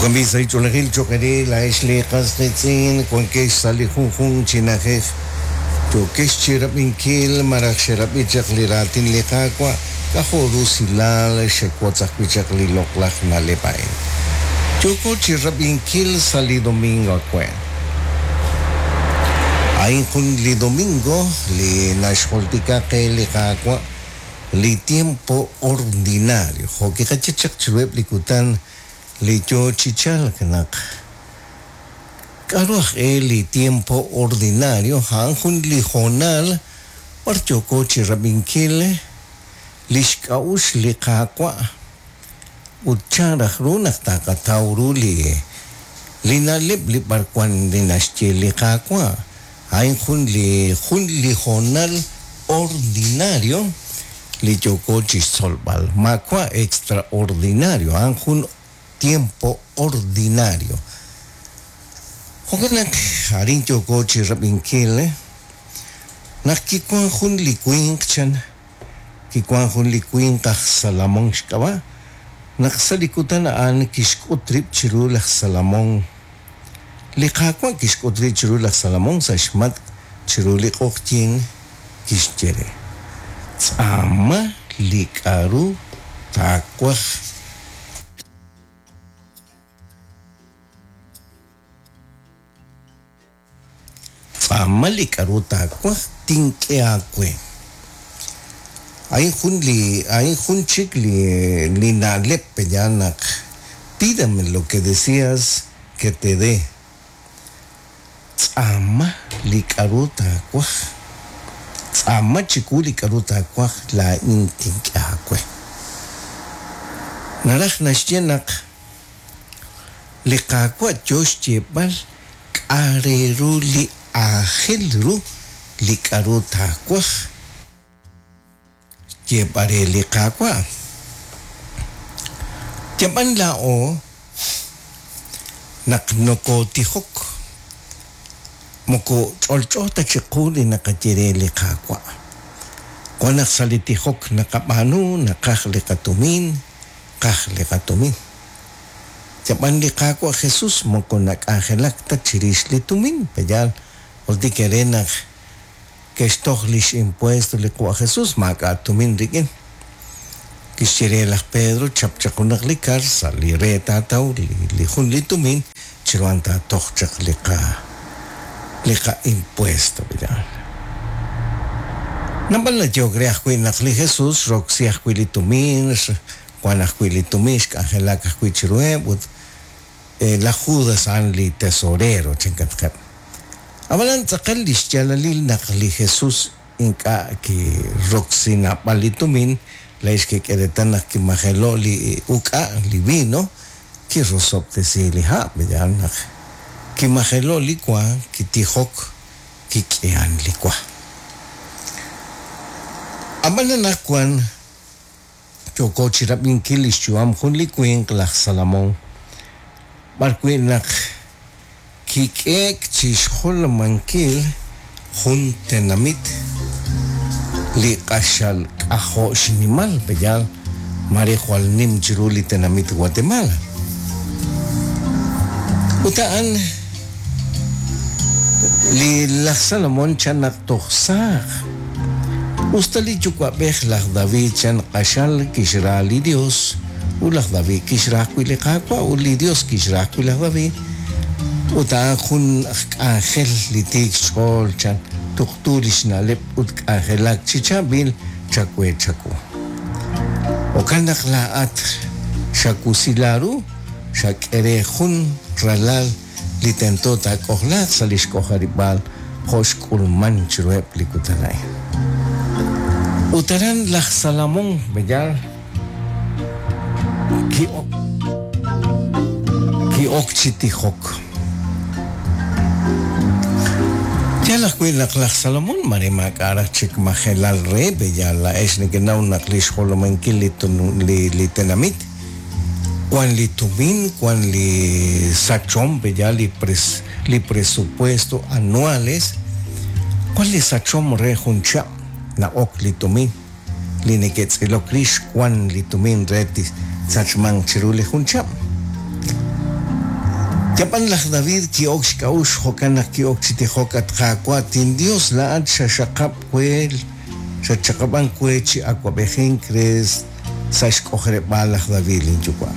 Jo'kan b'i' sahil ch'oolejil cho'q eere laa'ex lee qas qiitz'in wankex sa' li junjunq chi na'ajej yookex chirab'inkil malaj xerab'i chaq li raatin li Qaawa', k'ajo' rusilal xewotz ajwi' chaq li loq'laj na'leb' a'in. Yooko chirab'inkil sa' li domingo awe'. A'in jun li domingo li naxjultika qe li Qaawa' li tiempo ordinario, jo' kiqaye chaq chiruheb' li kutan li yoo chi chalk naq k'a'ru aj-e li tiempo ordinario, a'an jun li hoonal b'ar yooko chirab'inkil lix k'a'uxl li Qaawa' ut chan raj ru naq taqataw ru li li na'leb' li b'arwan li naxye li Qaawa'. A'in jun li jun li hoonal ordinario li yooko chixtzolb'al. Maawa' extraordinario, a'an jun tiempo ordinario. Jo'kan naq arin yooko chirab'inkil naq kiwan jun li winq chan, kiwan jun li winq aj Salomón xk'ab'a', naq sa' li kutan a'an kixk'ut rib' chiru laj Salomón. Li Qaawa' kixk'ut rib' chiru laj Salomón sa' xmatk' chiru li q'oqyink, kixye re, Tz'aama li k'a'ru taawaj. Tz'aama li k'a'ru taawaj, tink'e aawe. A'in jun li a'in jun chik li li na'leb' pe'yaal naq pídame lo que deseas que te dé. Tz'aama li k'a'ru taawaj. Tz'aama chiwu li k'a'ru taawaj, laa'in tink'e aawe. Naraj naxye naq li Qaawa' yoo xyeeb'al k'a' re ru li aajel ru li k'a'ru taawaj xyeeb'al re li Qaawa'. Yab'an laa'o naq nokotijok moko ch'olch'o ta chiqu li naqaye re li Qaawa'. Wan naq sa' li tijok naqab'aanu naqaj li qatumin, qaj li qatumin. Yab'an li Qaawa' Jesús moko nak'anjelak ta chirix li tumin, pe'yaal? Jultik eere naq ke'xtoj li x'impuesto li Qwa' Jesús, maak'a' tumin rik'in. Kixye re laj Pedro, Chap chaq junaq li kar, sa' li re taataw li jun li tumin, chiru a'an taatoj chaq li qa li qa'impuesto, pe'yaal? Naab'al nayehok re ajwi' naq li Jesús xroksi ajwi' li tumin, Wan ajwi' li tumin xk'anjelak ajwi' chiruheb' ut laj Judas a'an li tesorero, chankatqeb'. Ab'anan tz'aqal li xyaalalil naq li Jesús ink'a' kiroksi naab'al li tumin, laa'ex kek'e reetal naq kimajelo' li uk'a', li vino, kirosob'tesi li ha', yaal naq kimajelo' li wa, kitijok, kik'ihan li wa. Ab'an anaqwan Yooko chirab'inkil lix yu'am jun li winq laj Salomon, b'ar wi' naq kik'eek chixjolomankil jun tenamit li q'axal k'ajo' xnimal, pe'yaal? Maare jwal nim chiru li tenamit Guatemala. Ut a'an li laj Salomon chan naq toj saaj. Us ta li yuwa'b'ej laj David chan q'axal kixra li Yos, ut laj David kixra ajwi' li Qaawa' ut li Yos kixra ajwi' laj David, ut a'an jun aj k'anjel li tiik xch'ool chan tuqtu li xna'leb' ut k'anjelak chi chaab'il chawe chawu. Jo'kan naq laa'at xawusila ru, xak'e re jun ralal li tento taak'ojlaaq sa' lix k'ojarib'aal jo' xk'ulman chiruheb' li kutan a'in. Ut aran laj Salomon, b'eyal, ki'ok ki'ok chi tijok. Yaal ajwi' naq laj Salomon maare maak'a' raj chik majelal re, b'eyal, laa'ex nekenaw naq lix jolominkil li li li tenamit Wan li tumin, wan li sachom, pe'yaal li pres, li presupuesto anuales, wan li sachom re jun chihab' na'ok li tumin, li neke'tz'ilok rix wan li tumin re tisachmanq chiru li jun chihab'. Yab'an laj David ki'ok xk'a'uxl jo'kan naq ki'ok chi tijok, At Qaawa', tinYos, laa'at xaxaqab' we, xatxaqab'ank we chi awab'ejink re sa' xk'ojarib'aal laj David linyuwa'.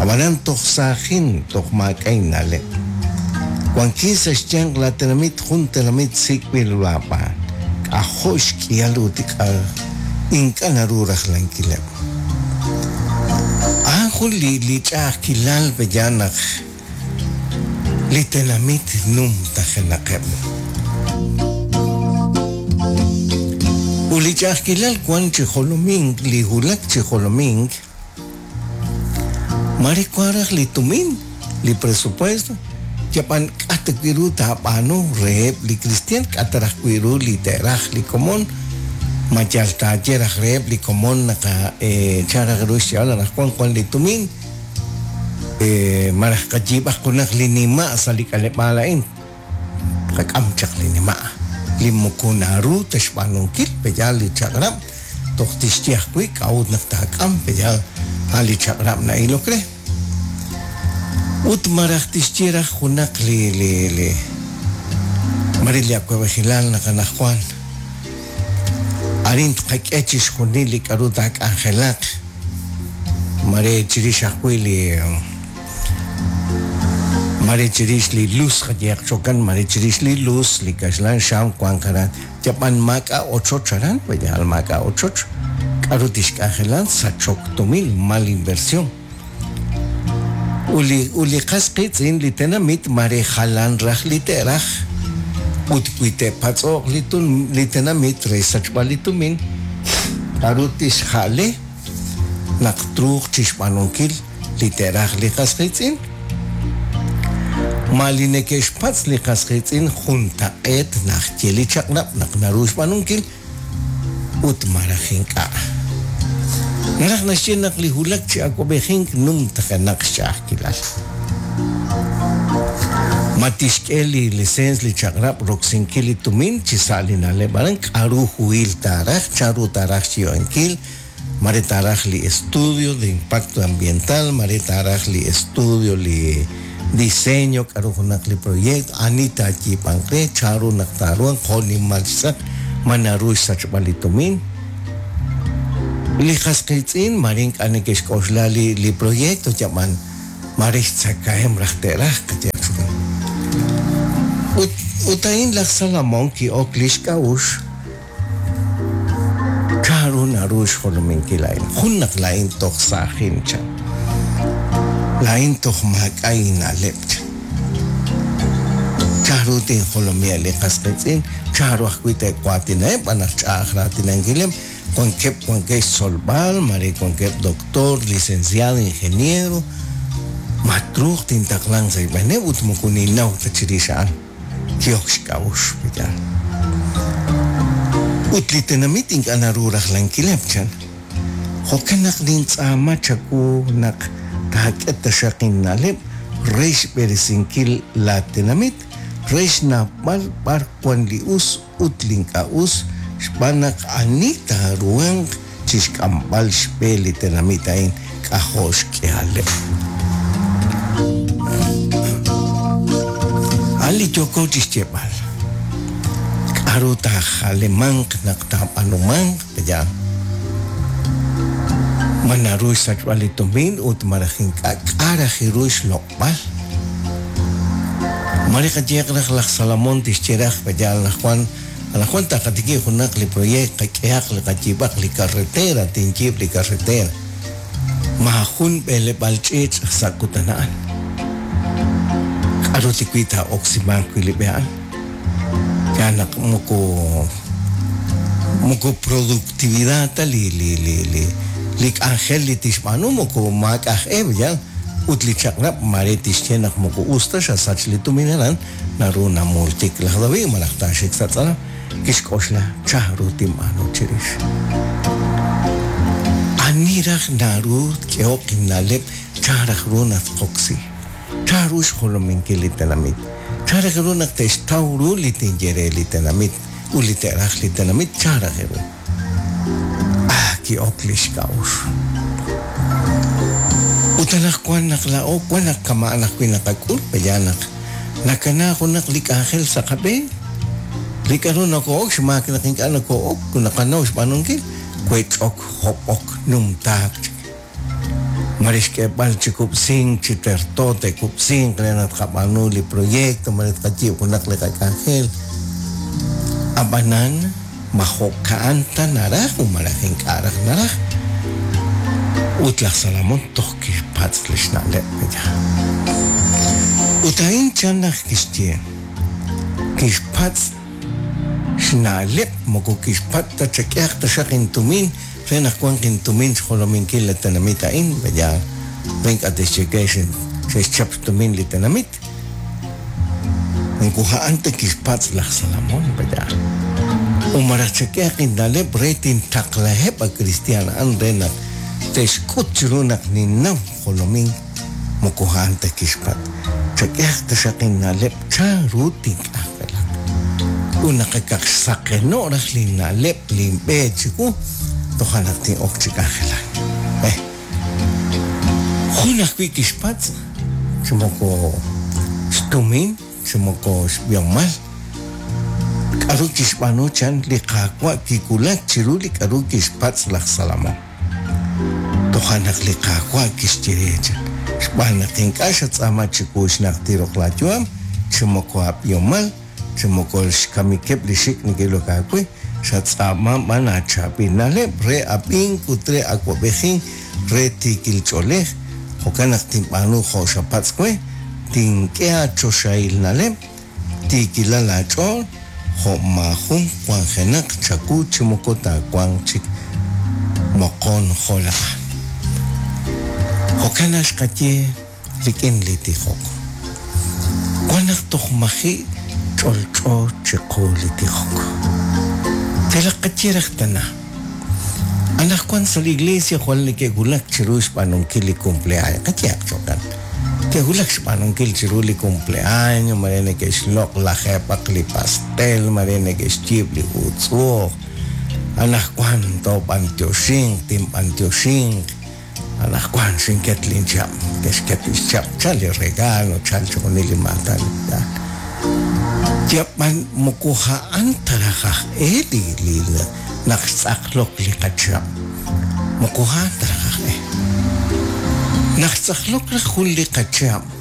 Ab'anan toj saajin, toj maak'a' inna'leb'. Wankin sa' xyanq laatenamit, jun tenamit sik'b'il ru aab'aan. K'ajo' xk'ihal ut ink'a' naru rajlankileb'. A'an jun li ch'a'ajkilal pe'yaal naq li tenamit numtajenaqeb'. Ut li ch'a'ajkilal wan chi jolomink, li wulak chi jolomink, mare wan raj li tumin, li presupuesto, yab'an k'a' ta wi' ru taab'aanu reheb' li kristiaan, k'a' ta raj wi' ru li te'raj li komon, ma yal taaye raj reheb' li komon naq chan raj ru xyeeb'al anaqwan wan li tumin, malaj qayiib'aq junaq li nima' sa' li k'aleb'aal a'in, tqak'am chaq li nima' li moko naru ta xb'aanunkil, pe'yaal li chaq'rab' toj tixye ajwi' k'a'ut naq taak'am, pe'yaal a' li chaq'rab' na'ilok re. Ut malaj tixye raj junaq li li li mare li awab'ejilal naq anaqwan arin tqak'e chixjunil li k'a'ru taak'anjelaq, mare chirix ajwi' li mare chirix li luz qayehaq chokan, mare chirix li luz, li kaxlan xam wank aran, yab'an maak'a' ochoch aran, pe'yaal maak'a' ochoch, k'a'ru tixk'anjelan sachok tumin, mal inversión. Ut li qas qiitz'in li tenamit mare jalan raj li te'raj, ut wi te'patz'o'q li tenamit re xsachb'al li tumin, k'a'ru tixja'le naq truuq chixb'aanunkil li te'raj li qas qiitz'in? Ma li neke'xpatz' li qas qiitz'in juntaq'eet naxye li chaq'rab' naq naru xb'aanunkil ut malaj ink'a'? Naraj naxye naq li wulak chi awab'ejink numtajenaq xch'a'ajkilal. Ma tixk'e li liseens li chaq'rab' roksinkil li tumin chi sa' li na'leb' aran? K'a'ru huhil taaraj? Chanru taaraj xyiib'ankil? Mare taaraj li estudio de impacto ambiental, mare taaraj li estudio li diseño, k'a'ru junaq li proyecto, ani taayiib'anq re, chanru naq taaruhanq, jo' nimal xtz'aq, ma naru xsachb'al li tumin. Li qas qiitz'in mare ink'a' neke'xk'oxla li li proyecto yab'an mare xtzakahem raj te'raj qayehaq chukan. Ut ut a'in laj Salomón ki'ok li xk'a'uxl Chanru naru xjolominkil a'in? Jun naq laa'in toj saajin, chan. Laa'in toj maak'a' inna'leb', chan. Chanru tinjolomiheb' li qas qiitz'in? Chanru ajwi' te'waatinaheb' b'an naq ch'a'aj raatinankileb'? Wankeb' wankeb' xtzolb'al, maare wankeb' doctor, licenciado, ingeniero. Ma truuq tintaqlanq sa' xb'eeneb' ut moko ninnaw ta chirix a'an? Ki'ok xk'a'uxl, pe'yaal? Ut li tenamit ink'a' naru rajlankileb', chan. Jo'kan naq nintz'aama chawu naq taak'e taxaq inna'leb' re xb'eresinkil laatenamit, re xnawb'al b'ar wank li us ut li ink'a' us, xb'aan naq ani taaruhanq chi xk'amb'al xb'e li tenamit a'in k'ajo' xk'ihaleb'. A'an li yooko chi xyeeb'al. K'aru taajalemanq naq taab'aanumanq? Pe'yaal? Ma naru xsachb'al li tumin ut malaj ink'a' k'a' raj ru xloq'b'al? Mare qayehaq raj laj Salomón tixye raj, Pe'yaal anaqwan Anaqwan taqatikib' junaq li proyect, qak'ehaq li qayiib'aq li carretera, tinyiib' li carretera. Maajun b'eleb'aal ch'iich' sa' kutan a'an. K'aru li wi' taa'oksimanq wi' li b'e a'an? Yaal naq moko moko productividad ta li li li li li k'anjel li tixb'aanu moko maak'a' aj e, yaal, ut li chaq'rab' maare tixye naq moko us ta xasach li tumin aran, Naru namultik laj David malaj taaxik sa' tz'alam, kixk'oxla chanru tinb'aanu chirix. Ani raj naru tk'ehoq inna'leb' chan raj ru naq tqoksi? Chanru xjolominkil li tenamit? Chan raj ru naq te'xtaw ru li tinye re li tenamit ut li te'raj li tenamit? Chan raj ru? Ah, ki'ok li xk'a'uxl. Ut anaqwan naq laa'o wan naq kama'an ajwi' naqak'ul, pe'yaal naq nakana junaq li k'anjel sa' qab'een? Li k'a'ru noko'ok xmaak naq ink'a' noko'ok naqanaw xb'aanunkil, wech'ok, hob'ok, numtaak chik. Mare xk'eeb'al chi kub'sink chi terto te'kub'sinq re naq tqab'aanu li proyecto, mare tqayiib' junaq li qak'anjel. Ab'anan ma jo'ka'an ta naraj u malaj ink'a' raj naraj? Ut laj Salomón toj kixpatz' li xna'leb' pe'yaal. Ut a'in chan naq kixye, kixpatz' xna'leb' moko kixpatz' ta chak'ehaq taxaq intumin re naq wanq intumin xjolominkil li tenamit a'in, pe'yaal, re ink'a' te'xye we xe'xchap xtumin li tenamit. Moko a'an ta kixpatz' laj Salomón, pe'yaal. U malaj chak'ehaq inna'leb' re tintaqlaheb' a kristiaan a'an re naq te'xk'ut chiru naq ninnaw jolomink, moko a'an ta kixpatz'. Chak'ehaq taxaq inna'leb' chanru tink'anjelaq. Ut naq akaq xsaqeno' raj linna'leb' linb'e chiwu, toja' naq tin'ok chi k'anjelak. Eh. Jun ajwi' kixpatz', chi moko xtumin, chi moko xb'ihomal. K'aru kixb'aanu chan li Qaawa' kiwulak chiru li k'aru kixpatz' laj Salomón. Toja' naq li Qaawa' kixye re chan, Xb'aan naq ink'a' xatz'aama chiwu xnajtil roq laayu'am, chi moko aab'ihomal, chi moko xkamikeb' li xik' neke'ilok aawe, xatz'aama b'an aachaab'il na'leb' re ab'ink ut re awab'ejink re tiikil ch'oolej, jo'kan naq tinb'aanu jo' xapatz' we, tink'e aachoxahil na'leb', tiikilal aach'ool, jo' maajun wanjenaq chawu chi moko taawanq chik moqon jo' laa'at. Jo'kan naq xqaye rik'in li tijok. Wan naq toj maji' ch'olch'o chiqu li tijok. Yalaq qaye raj tana. Anaqwan sa' li iglesia jwal neke'wulak chiru xb'aanunkil li cumpleaño. Qayehaq jo'kan. Ke'wulak xb'aanunkil chiru li cumpleaño, mare neke'xloq' lajeeb'aq li pastel, mare neke'xyiib' li uutz'u'uj. Anaqwan toob'antioxinq, tinb'antioxinq. Anaqwan xinket linchihab', ke'xket li xchihab', chal li regalo, chal chixjunil li maatan. Yab'an moko a'an ta raj aj e li li naq xtz'aqlok li qachihab'. Moko a'an ta raj aj e. Naq xtz'aqlok raj jun li qachihab',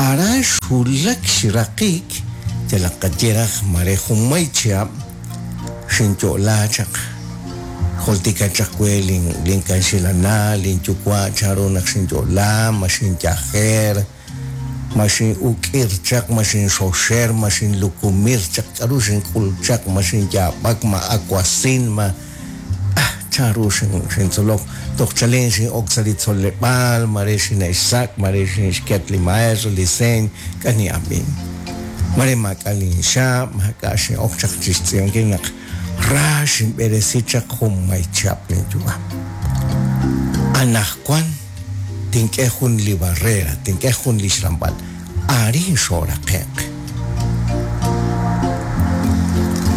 aran xwulak xraqik yalaq qaye raj mare junmay chihab' xinyo'la chaq. Jultika chaq we linkanxilana, linyuwa' chanru naq xinyo'la, ma xinyajer, ma xin'uk'ir chaq, ma xinxoxer, ma xinlukumir chaq, k'aru xink'ul chaq, ma xinyaab'ak, ma awasin, ma ah chanru xintzolok toj chalen xin'ok sa' li tzoleb'aal, mare xine'xsak', mare xinxket li maestro, li señ, k'a nin'ab'in. Mare maak'a' linxaab', maak'a' xin'ok chaq chi xtz'iib'ankil naq ra xinb'eresi chaq junmay chihab' linyu'am. Anaqwan tink'e jun li barrera, tink'e jun li xramb'al, arin xooraqe'q.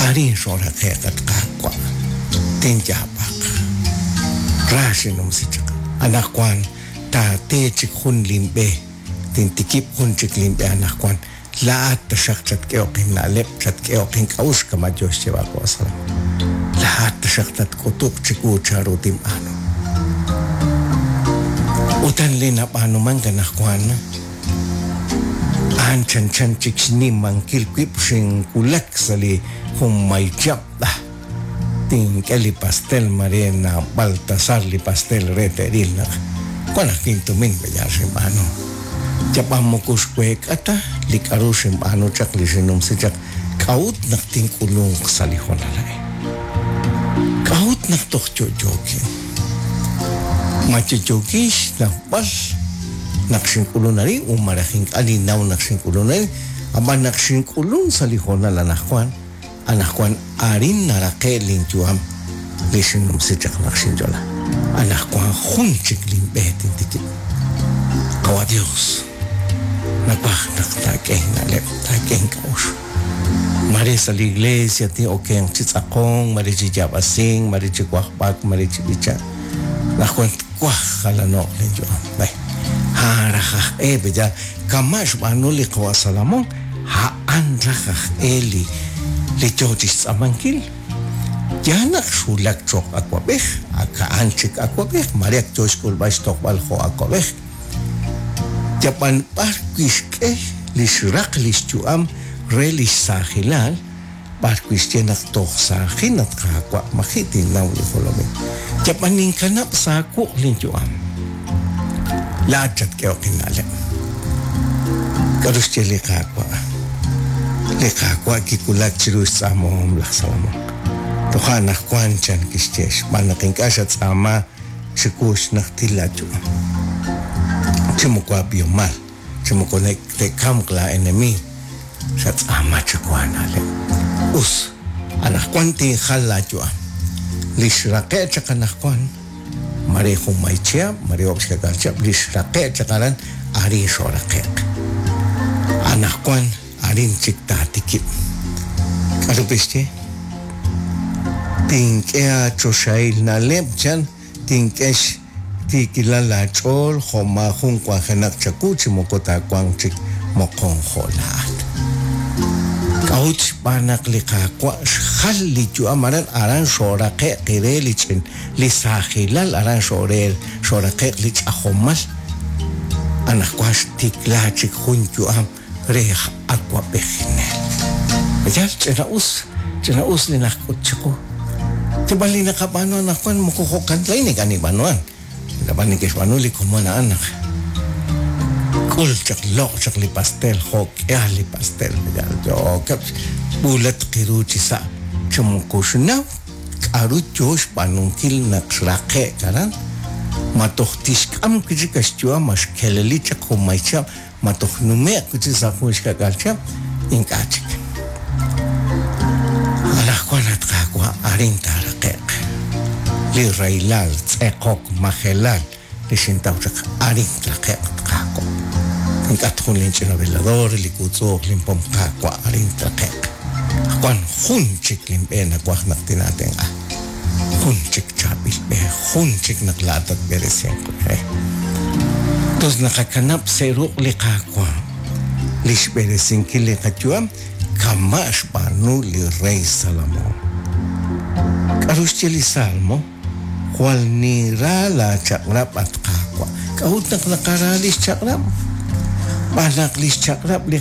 Arin xooraqe'q, at Qaawa', tinyaab'aq. Ra xinnumsi chaq. Anaqwan taate chik jun linb'e, tintikib' jun chik linb'e anaqwan. Laa'at taxaq chatk'ehoq inna'leb', chatk'ehoq ink'a'uxl kama' yo xyeeb'al qawa' Salomón. Laa'at taxaq tatk'utuq chiwu chanru tinb'aanu. Utan li nab'aanumank anaqwan, a'an chanchan chik xnimankil wib' xinwulak sa' li junmay chihab'. Tink'e li pastel mare naab'al tasal li pastel re te'ril naq wan ajwi' intumin pe'yaal xinb'aanu. Yab'an moko xweek'a ta li k'a'ru xinb'aanu chaq li xinnumsi chaq k'a'ut naq tink'ulunq sa' li hoonal a'in. K'a'ut naq toj yo'yookin? Ma yo'yookin xnawb'al naq xink'ulun arin u malaj ink'a' ninnaw naq xink'ulun arin? Ab'an naq xink'ulun sa' li hoonal anaqwan, Anaqwan arin naraqe' linyu'am li xinnumsi chaq naq xinyo'la. Anaqwan jun chik linb'e tintikib'. Qawa' Dios, nawaj naq taak'e inna'leb', taak'e ink'a'uxl. Mare sa' li iglesia tin'okenq chi tz'aqonk, mare chi yaab'asink, mare chi wajb'ak, mare chi b'ichank. Anaqwan twaj jalano'q linyu'am. B'e. A'an raj aj e pe'yaal? Kama' xb'aanu li qawa' Salomón, a'an raj aj e li li yo chi xtz'aamankil. Yaal naq xwulak cho'q awab'ej, ak a'an chik awab'ej, mare ak yo xk'ulb'al xtojb'al jo' awab'ej. Yab'an b'ar wi' xk'e li xraq li xyu'am re li xsaajilal, b'ar wi' xye naq toj saajin at Qaawa', maji' tinnaw li jolomil. Yab'an ninkanab' sa' wuq' linyu'am. Laa'at chatk'ehoq inna'leb'. K'aru xye li Qaawa'? Li Qaawa' kiwulak chiru xtz'aamahom laj Salomón. Toja' anaqwan, chan kixye, xb'aan naq ink'a' xatz'aama chiwu xnajtil laayu'am, chi moko aab'ihomal, chi moko te'kamq laa'enemiig, xatz'aama chiwu aana'leb'. Us, anaqwan tinjal laayu'am. Li xraqe'k chaq anaqwan, mare junmay chihab', mare oob' xka'k'aal chihab', li xraqe'k chaq aran, arin xooraqe'q. Anaqwan arin chik taatikib'. K'aru kixye? Tink'e aachoxahil na'leb', chan, tink'e xtiikilal laach'ool jo' maajun wanjenaq chawu chi moko taawanq chik moqon jo' laa'at. K'a'ut? Xb'aan naq li Qaawa' xjal li yu'am aran, aran xooraqe'q re li ch'in li saajilal, aran xoore xooraqe'q li ch'ajomal. Anaqwan xtikla chik jun yu'am re aj awab'ejinel. Yal ch'ina'us, ch'ina'us li naxk'ut chiqu. Yab'an li naqab'aanu anaqwan moko jo'kan ta laa'in ink'a' ninb'aanuhan. Ab'an neke'xb'aanu li komon a'an naq k'ul chaq loq' chaq li pastel jo' k'ihal li pastel yookeb' b'uulatq ru chi sa' chi moko xnaw k'aru yo xb'aanunkil naq xraqe'k aran. Ma toj tixk'am wi' chik xyu'am ma xkeleli chaq junmay chihab', ma toj nume'q wi' chik sa' jun xka'k'aal chihab', ink'a' chik. Anaqwan at Qaawa' arin taaraqe'q li rahilal, tz'eqok, majelal li xintaw chaq, arin traqe'q at Qaawa'. Tink'at jun linch'ina velador, li wuutz'u'uj linpom Qaawa', arin traqe'q. Wan jun chik linb'e nawaj naq tinaatenq'a. Jun chik chaab'il b'e, jun chik naq laa'at tatb'eresinq we. Tos naqakanab' sa' ruq' li Qaawa' li xb'eresinkil li qayu'am kama' xb'aanu li rey Salomón. K'aru xye li Salmo? Jwal ninra laachaq'rab', at Qaawa'. K'a'ut naq naqara li xchaq'rab'? Xb'aan naq li xchaq'rab' li.